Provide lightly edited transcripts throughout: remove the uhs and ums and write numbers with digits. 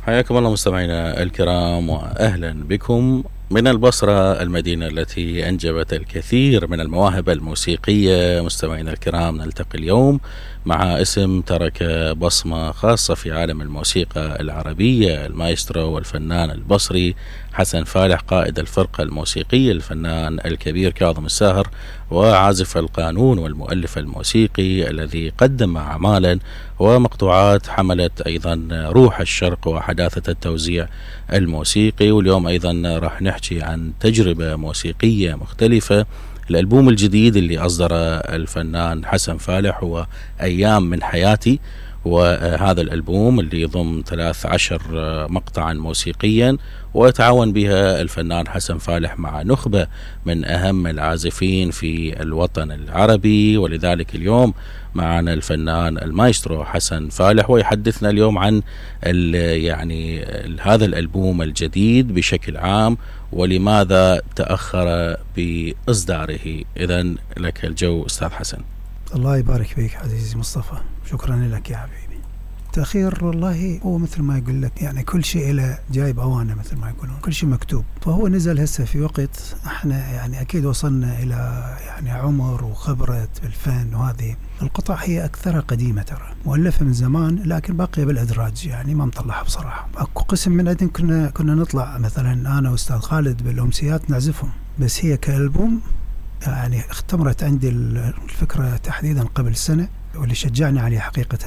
حياكم الله مستمعينا الكرام وأهلا بكم من البصرة، المدينة التي أنجبت الكثير من المواهب الموسيقية. مستمعينا الكرام، نلتقي اليوم مع اسم ترك بصمة خاصة في عالم الموسيقى العربية، المايسترو والفنان البصري حسن فالح، قائد الفرقة الموسيقية الفنان الكبير كاظم الساهر، وعازف القانون والمؤلف الموسيقي الذي قدم أعمالا ومقطوعات حملت أيضا روح الشرق وحداثة التوزيع الموسيقي. واليوم أيضا راح نحكي عن تجربة موسيقية مختلفة. الألبوم الجديد اللي أصدره الفنان حسن فالح هو أيام من حياتي، وهذا الألبوم اللي يضم 13 مقطعا موسيقيا، ويتعاون بها الفنان حسن فالح مع نخبة من أهم العازفين في الوطن العربي. ولذلك اليوم معنا الفنان المايسترو حسن فالح، ويحدثنا اليوم عن يعني هذا الألبوم الجديد بشكل عام ولماذا تأخر بإصداره. إذن لك الجو أستاذ حسن. الله يبارك فيك عزيزي مصطفى، شكرا لك يا حبيبي. تأخير والله هو مثل ما يقول لك، يعني كل شيء له جايب أوانه مثل ما يقولون، كل شيء مكتوب. فهو نزل هسه في وقت احنا يعني أكيد وصلنا إلى يعني عمر وخبرة بالفن، وهذه القطع هي أكثرها قديمة ترى، مؤلفة من زمان لكن باقية بالأدراج، يعني ما مطلعها بصراحة. أكو قسم من عندنا كنا نطلع مثلا أنا وأستاذ خالد بالأمسيات نعزفهم، بس هي كألبوم يعني اختمرت عندي الفكرة تحديدا قبل سنة، واللي شجعني عليه حقيقة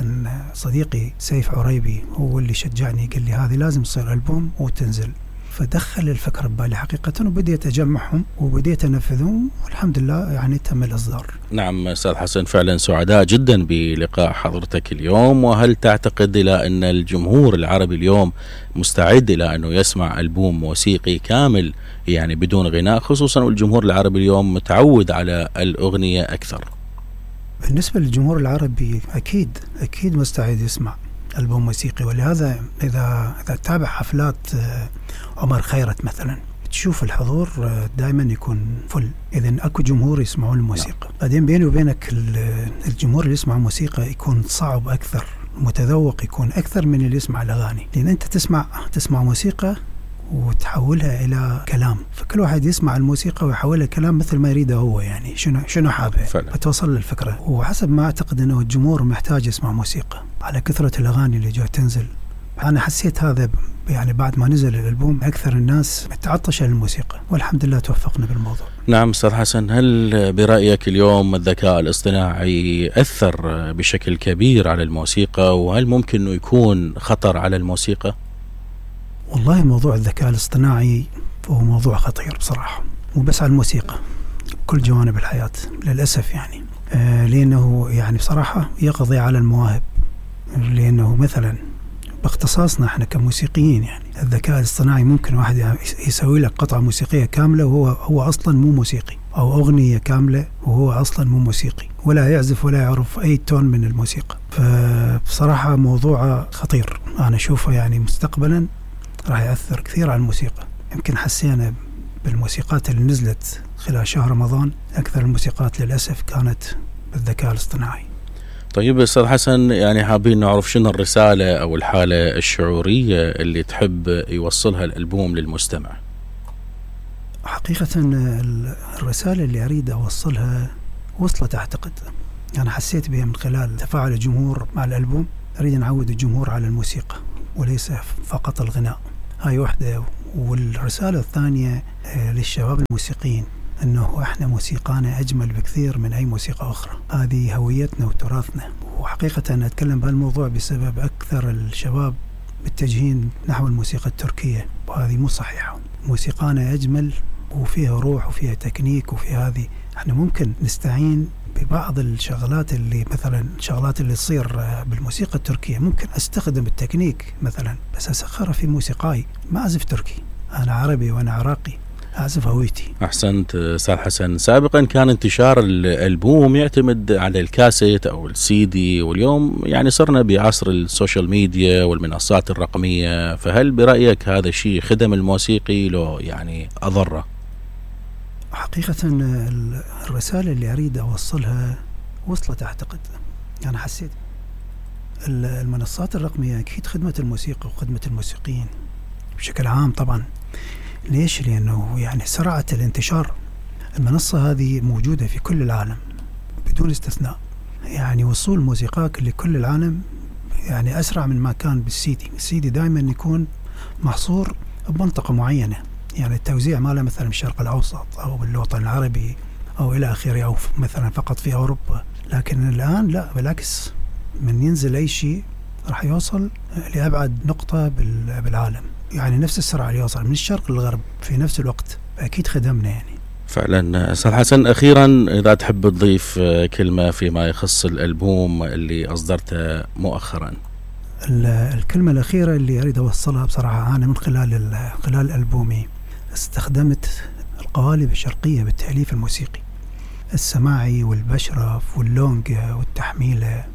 صديقي سيف عريبي، هو اللي شجعني قال لي هذه لازم تصير ألبوم وتنزل. فدخل الفكرة ببالي حقيقة، وبديت أجمعهم وبديت أنفذهم، والحمد لله يعني تم الإصدار. نعم أستاذ حسن، فعلا سعداء جدا بلقاء حضرتك اليوم. وهل تعتقد إلى أن الجمهور العربي اليوم مستعد إلى أنه يسمع ألبوم موسيقي كامل يعني بدون غناء، خصوصا والجمهور العربي اليوم متعود على الأغنية أكثر؟ بالنسبة للجمهور العربي أكيد مستعد يسمع ألبوم موسيقي، ولهذا إذا تتابع حفلات عمر خيرت مثلا تشوف الحضور دائما يكون فل، إذن أكو جمهور يسمعون الموسيقى. بعدين بيني وبينك الجمهور اللي يسمع موسيقى يكون صعب أكثر، متذوق يكون أكثر من اللي يسمع الأغاني، لأن أنت تسمع موسيقى وتحولها إلى كلام، فكل واحد يسمع الموسيقى ويحولها كلام مثل ما يريده هو، يعني شنو حابه فتوصل للفكرة. وحسب ما أعتقد أنه الجمهور محتاج يسمع موسيقى على كثرة الأغاني اللي جاي تنزل. أنا حسيت هذا يعني بعد ما نزل الألبوم أكثر الناس متعطشة للموسيقى، والحمد لله توفقنا بالموضوع. نعم أستاذ حسن، هل برأيك اليوم الذكاء الاصطناعي أثر بشكل كبير على الموسيقى، وهل ممكن أنه يكون خطر على الموسيقى؟ والله موضوع الذكاء الاصطناعي هو موضوع خطير بصراحة، مو بس على الموسيقى، كل جوانب الحياة للأسف يعني. لأنه يعني بصراحة يقضي على المواهب، لأنه مثلا باختصاصنا احنا كموسيقيين يعني الذكاء الاصطناعي ممكن واحد يسوي لك قطعة موسيقية كاملة وهو أصلا مو موسيقي، أو أغنية كاملة وهو أصلا مو موسيقي، ولا يعزف ولا يعرف أي تون من الموسيقى. فبصراحة موضوع خطير، أنا أشوفه يعني مستقبلا راح يأثر كثير على الموسيقى. يمكن حسينا بالموسيقات اللي نزلت خلال شهر رمضان، أكثر الموسيقات للأسف كانت بالذكاء الاصطناعي. طيب أستاذ حسن، يعني حابين نعرف شنو الرسالة أو الحالة الشعورية اللي تحب يوصلها الألبوم للمستمع؟ حقيقة الرسالة اللي أريد أوصلها وصلت أعتقد، أنا حسيت بها من خلال تفاعل الجمهور مع الألبوم. أريد نعود الجمهور على الموسيقى وليس فقط الغناء، هاي واحدة. والرسالة الثانية للشباب الموسيقيين أنه إحنا موسيقانا أجمل بكثير من أي موسيقى أخرى، هذه هويتنا وتراثنا. وحقيقة أنا أتكلم بهالموضوع بسبب أكثر الشباب متجهين نحو الموسيقى التركية، وهذه مو صحيحة. موسيقانا أجمل وفيها روح وفيها تكنيك وفيها هذه. إحنا ممكن نستعين ببعض الشغلات اللي مثلا الشغلات اللي تصير بالموسيقى التركية، ممكن أستخدم التكنيك مثلا بس أسخرها في موسيقاي. ما أعزف تركي، أنا عربي وأنا عراقي، أعزف هويتي. أحسنت أستاذ حسن. سابقا كان انتشار الألبوم يعتمد على الكاسيت أو السي دي، واليوم يعني صرنا بعصر السوشيال ميديا والمنصات الرقمية، فهل برأيك هذا الشيء خدم الموسيقي لو يعني أضره؟ حقيقة الرسالة اللي أريد أوصلها وصلت أعتقد. أنا حسيت المنصات الرقمية أكيد خدمة الموسيقى وخدمة الموسيقيين بشكل عام طبعا. ليش؟ لأنه يعني سرعة الانتشار. المنصة هذه موجودة في كل العالم بدون استثناء، يعني وصول موسيقاك لكل العالم يعني أسرع من ما كان بالسيدي. السيدي دائما يكون محصور بمنطقة معينة، يعني التوزيع ماله مثلا بالشرق الأوسط أو بالوطن العربي أو إلى آخره، أو مثلا فقط في أوروبا. لكن الآن لا، بالعكس، من ينزل أي شيء راح يوصل لأبعد نقطة بالعالم، يعني نفس السرعة اللي يوصل من الشرق للغرب في نفس الوقت. أكيد خدمنا يعني. فعلا. أستاذ حسن، أخيرا إذا تحب تضيف كلمة فيما يخص الألبوم اللي أصدرته مؤخرا. الكلمة الأخيرة اللي أريد أوصلها بصراحة، أنا من خلال ألبومي استخدمت القوالب الشرقية بالتأليف الموسيقي، السماعي والبشرف واللونجة والتحميلة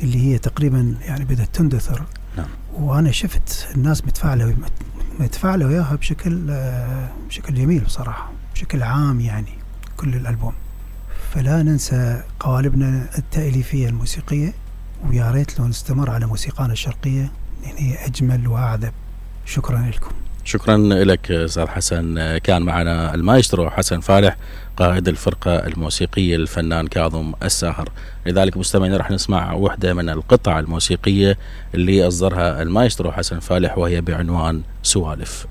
اللي هي تقريبا يعني بدأت تندثر. نعم. وأنا شفت الناس متفاعلة وياها بشكل جميل بصراحة، بشكل عام يعني كل الألبوم. فلا ننسى قوالبنا التأليفية الموسيقية، ويا ريت لو نستمر على موسيقانا الشرقية لأن هي أجمل وأعذب. شكرا لكم. شكرا لك أستاذ حسن. كان معنا المايسترو حسن فالح قائد الفرقة الموسيقية الفنان كاظم الساهر. لذلك مستمعين راح نسمع وحدة من القطع الموسيقية اللي أصدرها المايسترو حسن فالح، وهي بعنوان سوالف.